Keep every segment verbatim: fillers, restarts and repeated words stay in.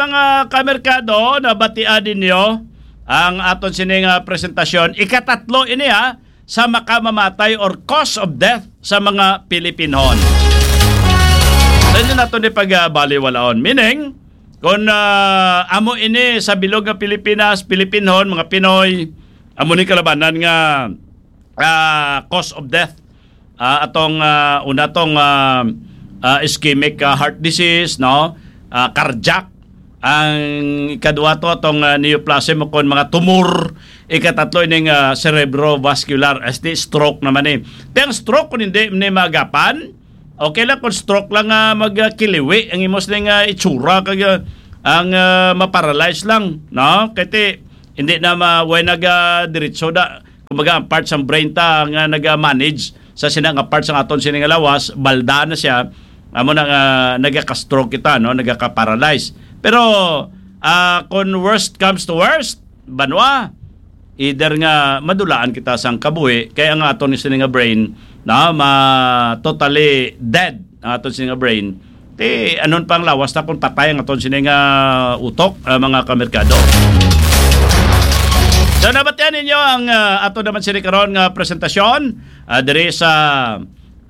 Mga kamerkado, nabatian ninyo ang aton sining, ah, presentasyon. Ikatatlo ini, ha, sa makamamatay or cause of death sa mga Pilipinhon. Sa inyo nato ni pagbaliwalaon. Meaning, kung, ah, amo ini sa bilog nga Pilipinas, Pilipinhon, mga Pinoy, amo ni kalabanan nga, ah, cause of death. Ah, atong, ah, una tong, ah, ah, ischemic, ah, heart disease, no? Ah, cardiac. Ang ikadua to, atong, ah, neoplasm o kon mga tumor. Ikatatlo ining, ah, cerebrovascular, as di stroke naman eh. Ti ang stroke kung hindi ni maagapan, okay lang kung stroke lang nga magkiliwi ang imos ning, ah, itsura kag, ah, ang, ah, maparalyze lang, no? Kay ti, hindi na ma-, way naga diretso da, kumbaga ang part sang brain ta nga naga-manage sa sina nga part sang aton sini nga lawas, balda na siya, amo na nga nagaka-stroke kita, no? Nagaka-paralyze. Pero, ah, kung worst comes to worst, banwa, either nga madulaan kita sang kabuhi, kay ang aton sini nga brain na ma-totally dead ang aton sini nga brain, ti anon pa ang lawas ta kung patay ang aton sini nga utok, ah, mga kamerkado. So, nabatian ninyo ang, ah, ato naman sini karon nga presentasyon, ah, diri sa,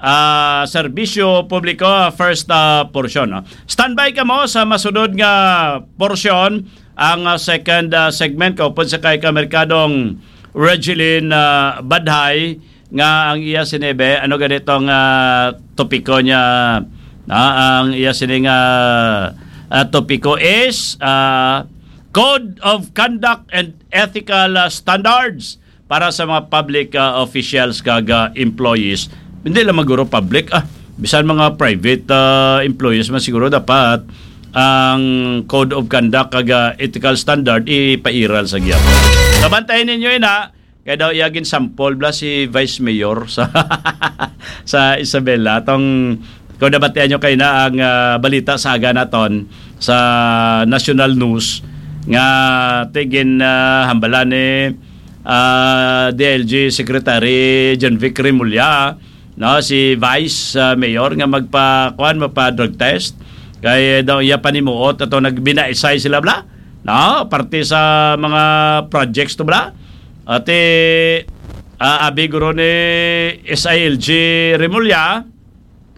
ah, serbisyo publiko, ah, first, ah, portion, no? Standby kamo sa masunod nga portion, ang, ah, second, ah, segment, kaupod sa kay kamerkadong Regeline, ah, Badhay, nga ang iya sinibe, ano gani tong, ah, topiko niya? Ah, ang iya sining, ah, ah, topiko is, ah, Code of Conduct and Ethical, ah, Standards para sa mga public, ah, officials kag, ah, employees. Hindi lang maguro public, ah, bisan mga private, ah, employees man siguro dapat ang Code of Conduct kag, ah, Ethical Standard ipairal sa gihapon. Kabantayan ninyo ina, kay daw iya ginsampol bala si Vice Mayor sa, sa Isabela. Tong, kung nabatian nyo kayo na ang, ah, balita sa aga naton sa national news nga ti gin, ah, hambalan ni, ah, D I L G Secretary John Vic Remulla, no, si Vice, ah, Mayor nga magpa-, kuwan, magpa-drug test. Kay daw iya panimuot ato nagbinaisay sila bala, no, parte sa mga projects to bala. Ate, ah, abi guro ni S I L G Remulla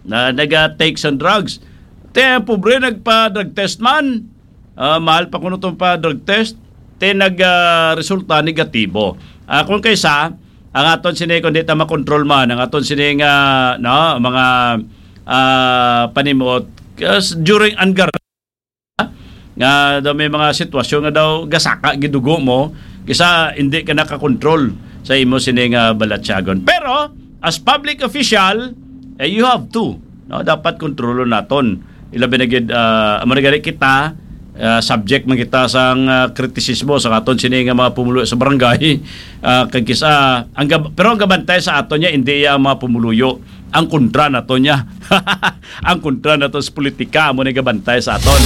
na naga-take sang drugs. Te, ang pobre nagpa-drug test man. Ah, mahal pa kuno tong pa-drug test. Te, nag, ah, resulta negatibo. Ah, kung kaysa, ang aton sini, kung di ta makontrol man, ang aton sini nga, no, mga, ah, panimuot, kas-, during ang gar-, nga daw may mga sitwasyon nga daw gasaka gidugo mo, kisa hindi ka nakakontrol sa imo sini nga balatyagon. Pero, as public official, eh, you have to, no? Dapat kontrolon naton. Ilabi na gid, ah, amo na gani kita, ah, subject man kita sang, ah, kritisismo sa aton sini nga mga pumuluyo sa barangay. Ah, kag kisa, ang gab-, pero ang gabantay sa aton niya, hindi iya ang mga pumuluyo. Ang kontra nato niya. Ang kontra nato sa politika, amo ni gabantay sa aton.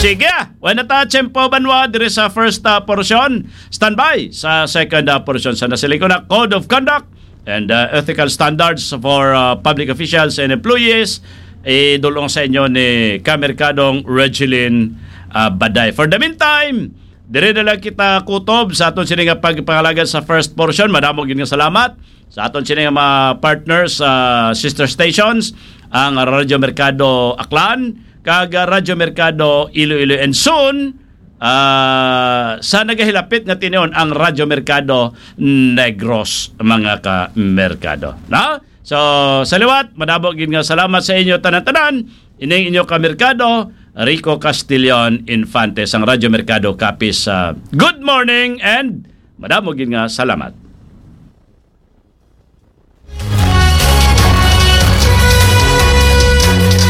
Sige, wala na ta tiyempo, banwa, diri sa first, ah, portion. Standby sa second, ah, portion. Sa nasiling ko na Code of Conduct and, uh, ethical standards for, uh, public officials and employees, idulong sa inyo ni Kamerkadong Regeline, uh, Baday. For the meantime, diri na lang kita kutob sa aton sini nga pagpangalaga sa first portion. Madamo gid nga salamat sa aton sini nga mga partners, uh, sister stations, ang Radyo Merkado Aklan kag Radyo Merkado Iloilo, and soon, ah, sa nagahilapit nga tinion, ang Radyo Merkado Negros, mga ka-merkado. No? So, sa liwat, madamo gid nga salamat sa inyo tanan-tanan. Ining inyo ka-merkado, Rico Castillon Infante, sang Radyo Merkado Capiz. Ah, good morning and madamo gid nga salamat.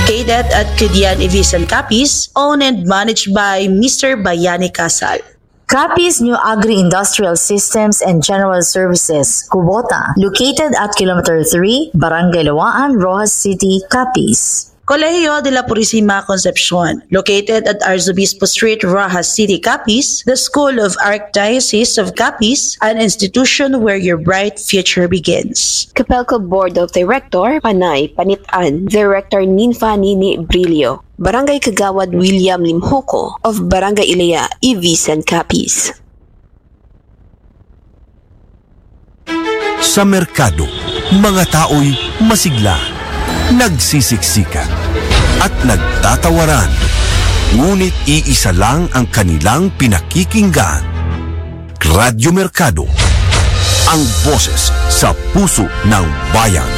Cadet at Kudian Ivisan Capiz, owned and managed by Mister Bayani Casal. Capiz New Agri-Industrial Systems and General Services, Kubota, located at Kilometer three, Barangay Lawaan, Roxas City, Capiz. Colegio de la Purisima Concepcion, located at Arzobispo Street, Roxas City, Capiz, the School of Archdiocese of Capiz, an institution where your bright future begins. Capelco Board of Director, Panay Panitan, Director Ninfa Nini Brillo, Barangay Kagawad William Limhuko of Barangay Ilaya, Ivisan, Capiz. Sa merkado, mga tao'y masigla, nagsisiksikan, at nagtatawaran. Ngunit iisa lang ang kanilang pinakikinggan. Radyo Merkado, ang boses sa puso ng bayan.